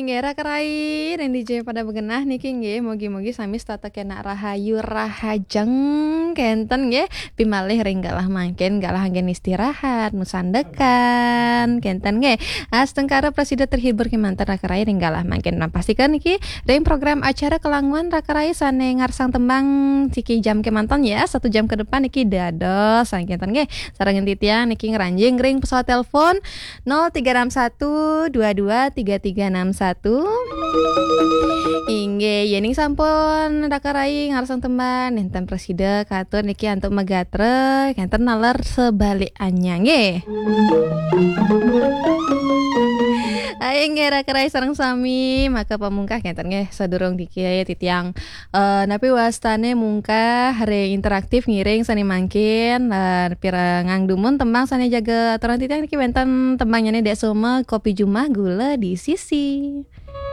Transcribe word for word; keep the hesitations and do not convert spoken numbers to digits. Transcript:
Inggih, raka rai, ring dija pada magenah niki nggih, mugi-mugi sami setata kena rahayu rahajeng kenten nggih, pimalih ring galah mangkin, galah anggen istirahat, masandekan kenten nggih. Astungkara prasida terhibur kemanten raka rai ring galah mangkin. Nah, pastikan niki ring program acara Kelanguan raka rai sane ngarsang tembang siki jam kemanten ya, satu jam ke depan niki dados kenten nggih. Sareng titiang niki ngranjing ring pesawat telepon nol tiga enam satu dua dua tiga tiga enam satu. Inggih, yening sampun raka rai ngarsang tembang, nenten prasida katur niki antuk magatra, kenten naler sebaliknya nggih. Ayo nggih raka rai sareng sami, maka pamungkah kenten nggih sadurung niki titiang eh, napi wastane mungkah ring interaktif ngiring sane mangkin, eh, pirengang dumun tembang sane jaga aturan titiang niki wenten tembangnyane Dek Soma, Kopi Jumah Gula di Sisi.